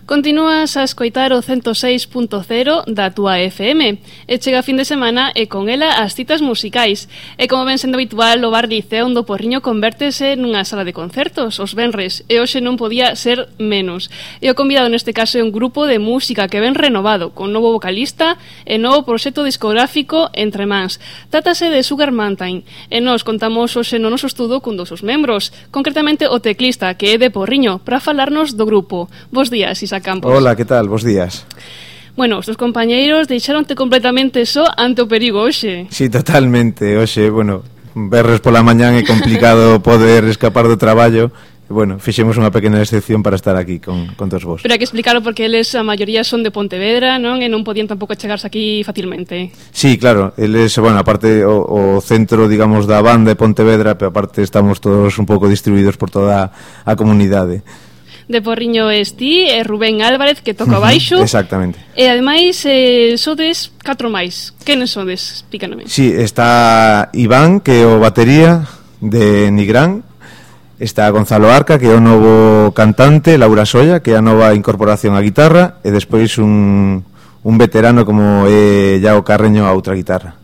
Continúas a escoitar o 106.0 da túa FM e chega a fin de semana e con ela as citas musicais. E como ven sendo habitual, o Bar Liceo do Porriño convértese nunha sala de concertos os venres e hoxe non podía ser menos. E o convidado neste caso é un grupo de música que ven renovado, con novo vocalista e novo proxecto discográfico entre mans. Trátase de Sugar Mountain e nós contamos hoxe no noso estudo cun dos seus membros, concretamente o teclista que é de Porriño, para falarnos do grupo. Bos días, Isa Campos. Hola, que tal? Bos días. Bueno, os teus compañeiros deixaronte completamente só ante o perigo hoxe. Sí, totalmente. Hoxe, bueno, verres pola mañán é complicado poder escapar do traballo. Bueno, fixemos unha pequena excepción para estar aquí con todos vos. Pero hai que explicarlo porque eles, a maioría, son de Pontevedra, non? E non podían tampouco chegarse aquí facilmente. Sí, claro, eles, bueno, aparte o centro, digamos, da banda de Pontevedra, pero aparte estamos todos un pouco distribuídos por toda a comunidade. De Porriño es ti e Rubén Álvarez, que toca baixo. Exactamente. E ademais sodes 4 máis. Quenes sodes? Explícanome. Sí, está Iván, que é o batería de Nigrán. Está Gonzalo Arca, que é o novo cantante, Laura Solla, que é a nova incorporación á guitarra, e despois un veterano como é Iago Carreño a outra guitarra.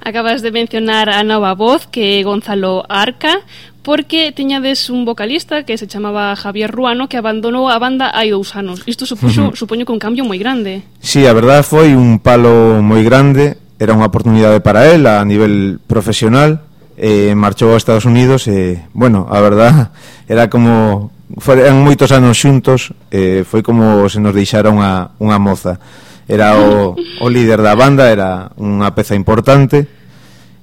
Acabas de mencionar a nova voz, que é Gonzalo Arca, porque tiñades un vocalista que se chamaba Javier Ruano que abandonou a banda hai 2 anos. Isto supoño que un cambio moi grande. Sí, a verdade foi un palo moi grande, era unha oportunidade para él a nivel profesional, marchou a Estados Unidos e, bueno, a verdade era como eran moitos anos xuntos, foi como se nos deixara unha moza. Era o líder da banda, era unha peza importante.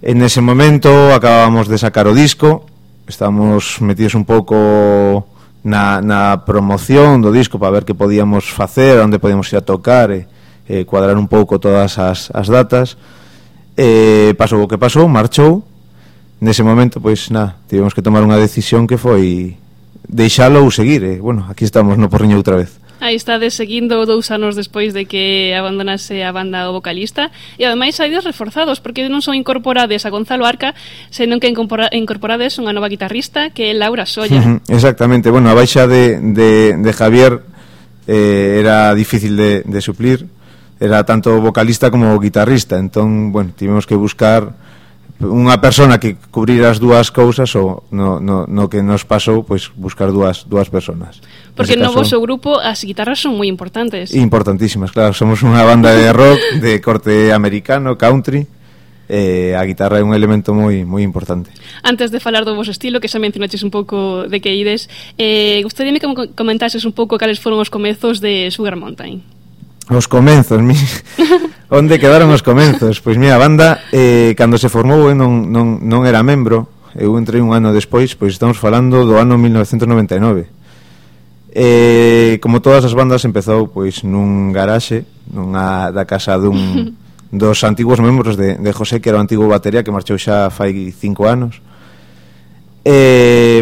En ese momento acabábamos de sacar o disco, estábamos metidos un pouco na promoción do disco para ver que podíamos facer, onde podíamos ir a tocar e cuadrar un pouco todas as datas. Pasou o que pasou, marchou. Nese momento, pois, tivemos que tomar unha decisión que foi deixalo ou seguir. Bueno, aquí estamos no Porriño outra vez. Aí estades seguindo 2 anos despois de que abandonase a banda o vocalista e ademais saides reforzados porque non son incorporades a Gonzalo Arca, senón que incorporades unha nova guitarrista que é Laura Solla. Exactamente, bueno, a baixa de Javier era difícil de suplir, era tanto vocalista como guitarrista, entón, bueno, tivemos que buscar unha persona que cubrira as dúas cousas ou no que nos pasou, pois buscar dúas personas. Porque no vosso grupo as guitarras son moi importantes. Importantísimas, claro, somos unha banda de rock de corte americano, country, a guitarra é un elemento moi importante. Antes de falar do vosso estilo, que xa mencionaches un pouco de que ides, gustaríame que comentases un pouco cales foron os comezos de Sugar Mountain. Os comenzos, onde quedaron os comenzos? Pois mira, a banda cando se formou eu non era membro, eu entrei un ano despois, pois estamos falando do ano 1999. Como todas as bandas empezou pois nun garaxe, da casa dos antigos membros de José, que era o antigo batería que marchou xa fai 5 anos.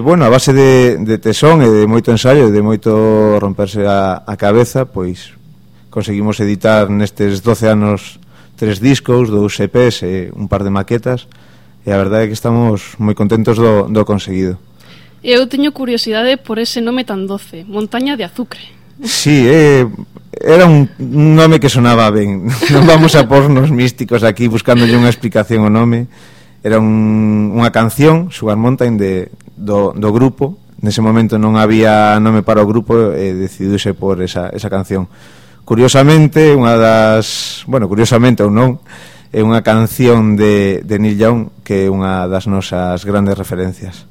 Bueno, a base de tesón e de moito ensaio e de moito romperse a cabeza, pois conseguimos editar nestes 12 anos 3 discos, 2 EPs e un par de maquetas, e a verdade é que estamos moi contentos do conseguido. Eu teño curiosidade por ese nome tan doce, Montaña de Azucre. Sí, era un nome que sonaba ben. Non vamos a pornos místicos aquí buscándolle unha explicación ao nome. Era unha canción, Sugar Mountain, do grupo. Nese momento non había nome para o grupo e decidiuse por esa canción. Curiosamente, curiosamente ou non, é unha canción de Neil Young que é unha das nosas grandes referencias.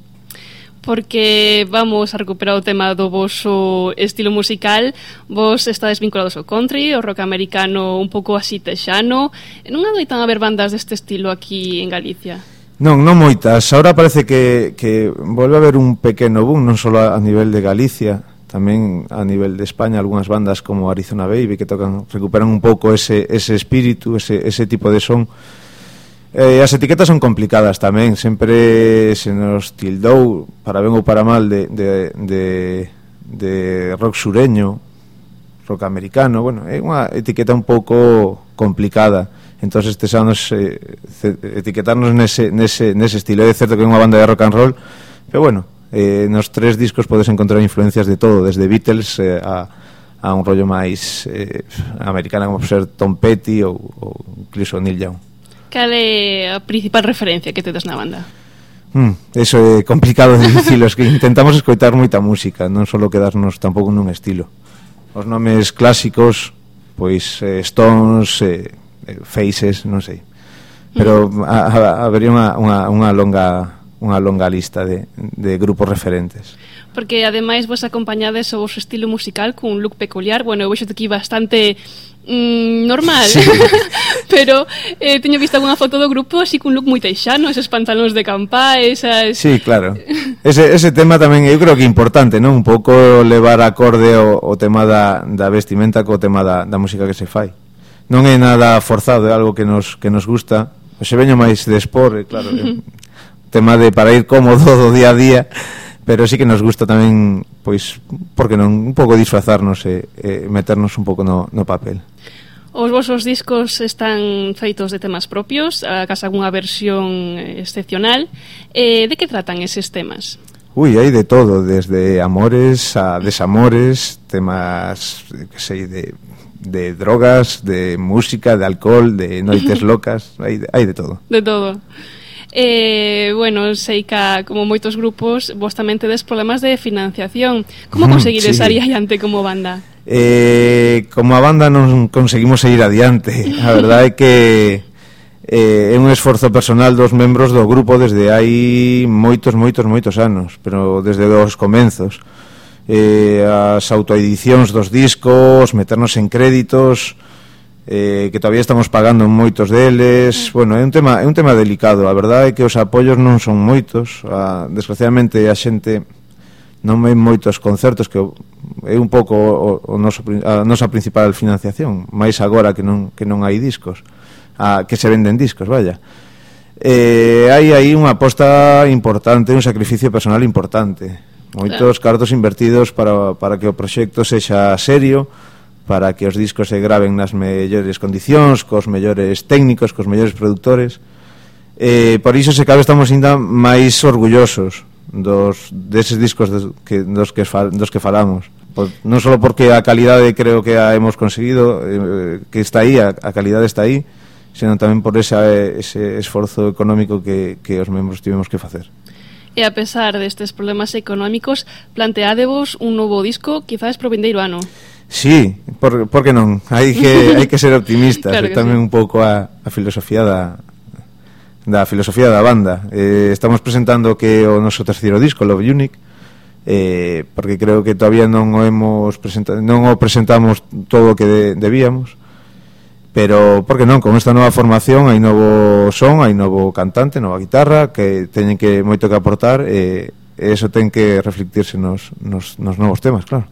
Porque vamos a recuperar o tema do voso estilo musical. Vos estades vinculados ao country, ao rock americano un pouco así texano. Non adoitan haber bandas deste estilo aquí en Galicia? Non moitas. Ahora parece que volve a haber un pequeno boom, non só a nivel de Galicia, tamén a nivel de España, algunhas bandas como Arizona Baby que recuperan un pouco ese espírito, ese tipo de son. As etiquetas son complicadas tamén, sempre se nos tildou, para ben ou para mal, de rock sureño, rock americano. Bueno, é unha etiqueta un pouco complicada. Entón estes anos etiquetarnos nese estilo. É certo que é unha banda de rock and roll, pero bueno, nos 3 discos podes encontrar influencias de todo, desde Beatles a a un rollo máis americana, como ser Tom Petty ou incluso Neil Young. Cal é a principal referencia que tedes na banda? Eso é complicado de dicilo, es que intentamos escoitar moita música, non só quedarnos tampouco nun estilo. Os nomes clásicos, pois Stones, Faces, non sei. Pero habería unha longa lista de grupos referentes. Porque ademais vos acompañades o vosso estilo musical cun look peculiar. Bueno, eu vexo aquí bastante normal, sí. Pero teño visto alguna foto do grupo así cun look moi teixano, eses pantalóns de campá, esas... Sí, claro. Ese tema tamén eu creo que é importante, non? Un pouco levar acorde o tema da vestimenta co tema da música que se fai. Non é nada forzado, é algo que nos gusta. Se veño máis de sport, claro, tema de para ir cómodo do día a día, pero sí que nos gusta tamén, pois, porque non, un pouco disfrazarnos e meternos un pouco no papel. Os vosos discos están feitos de temas propios, acaso algunha versión excepcional. De que tratan eses temas? Hai de todo, desde amores a desamores, temas, que sei, de drogas, de música, de alcohol, de noites locas, hai de todo. De todo. Bueno, sei que como moitos grupos vos tamén tedes problemas de financiación. Como conseguides sair adiante como banda? Como a banda non conseguimos seguir adiante. A verdade é que é un esforzo personal dos membros do grupo desde hai moitos anos, pero desde os comenzos. As autoedicións dos discos, meternos en créditos, que todavía estamos pagando moitos deles. Bueno, é un tema delicado. A verdade é que os apoios non son moitos. Desgraciadamente a xente non ven moitos concertos, que é un pouco a nosa principal financiación, máis agora que non hai discos, que se venden discos, vaya. Hai aí unha aposta importante, un sacrificio personal importante, moitos cartos invertidos para que o proxecto sexa serio, para que os discos se graven nas mellores condicións, cos mellores técnicos, cos mellores produtores. Por iso, se cabe, estamos ainda máis orgullosos deses discos dos que falamos. Non só porque a calidade creo que a hemos conseguido, que está aí, a calidade está aí, senón tamén por ese esforzo económico que os membros tivemos que facer. E a pesar destes problemas económicos, planteádevos un novo disco, quizás pro vindeiro ano. Sí, por que non? Hai que ser optimistas. Claro que tamén sí. Un pouco a filosofía da filosofía da banda. Estamos presentando que o noso terceiro disco, Love Unique, porque creo que todavía non o presentamos todo o que debíamos, pero por que non? Con esta nova formación hai novo son, hai novo cantante, nova guitarra, que teñen moito que aportar, e eso ten que reflectirse nos novos temas, claro.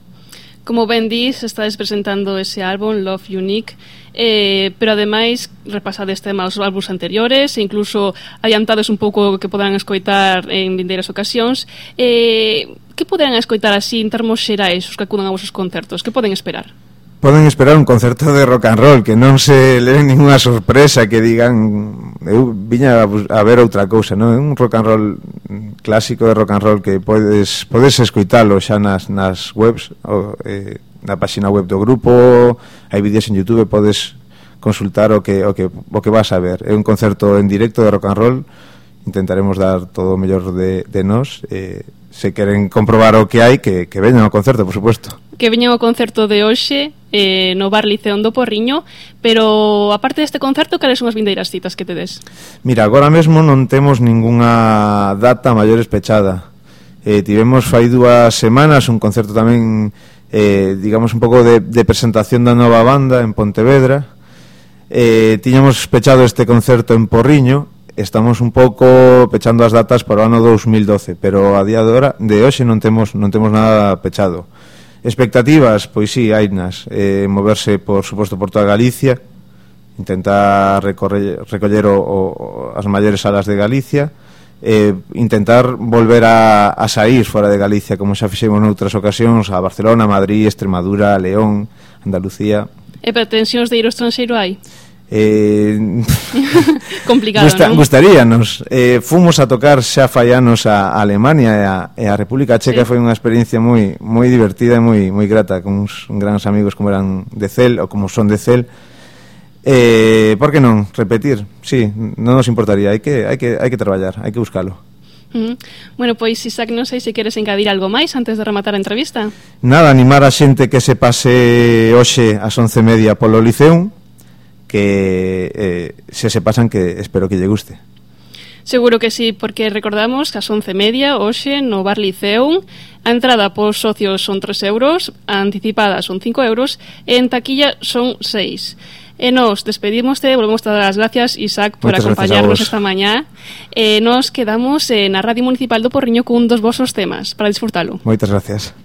Como ben dís, estades presentando ese álbum, Love Unique, pero ademais repasades temas os álbuns anteriores e incluso adiantades un pouco que poderán escoitar en vindeiras ocasións. Que poderán escoitar así en termos xerais os que acudan a vosos concertos? Que poden esperar? Poden esperar un concerto de rock and roll, que non se leen ninguna sorpresa, que digan eu viña a ver outra cousa, non? É un rock and roll clásico de rock and roll que podes escoitalo xa nas webs, na página web do grupo, hai vídeos en YouTube, podes consultar o que vas a ver. É un concerto en directo de rock and roll, intentaremos dar todo o mellor de nós, se queren comprobar o que hai, que veñan ao concerto, por suposto. Que veñan ao concerto de hoxe no Bar Liceo do Porriño, pero aparte deste concerto, cales son as vindeiras citas que tedes? Mira, agora mesmo non temos ningunha data maior pechada. Tivemos fai 2 semanas un concerto tamén, digamos, un pouco de presentación da nova banda en Pontevedra. Tiñamos pechado este concerto en Porriño. Estamos un pouco pechando as datas para o ano 2012, pero a día de hoxe non temos nada pechado. Expectativas, pois sí, hainas, moverse, por suposto, por toda Galicia, intentar recoller as maiores salas de Galicia, intentar volver a sair fora de Galicia, como xa fixemos noutras ocasións, a Barcelona, Madrid, Extremadura, León, Andalucía. E pretensións de ir ao estranxeiro hai? Complicado, non? Gustaríanos. Fomos a tocar xa fai anos a Alemania e a República Checa. Foi unha experiencia moi divertida e moi grata, con uns grandes amigos como eran de CEL ou como son de CEL. Por que non repetir? Sí, non nos importaría. Hai que traballar, hai que buscalo. Bueno, pois, Isaac, non sei se queres engadir algo máis antes de rematar a entrevista. Nada, animar a xente que se pase hoxe ás 11:30 polo Liceum, que se pasan, que espero que lle guste. Seguro que sí, porque recordamos que ás 11:30 hoxe no Bar Liceum a entrada pos socios son 3 euros, a anticipada son 5 euros e en taquilla son 6. E nos despedimos, volvemos a dar as gracias, Isaac, por acompañarnos esta mañá. Nos quedamos na Radio Municipal do Porriño cun dos vosos temas para disfrutalo. Moitas gracias.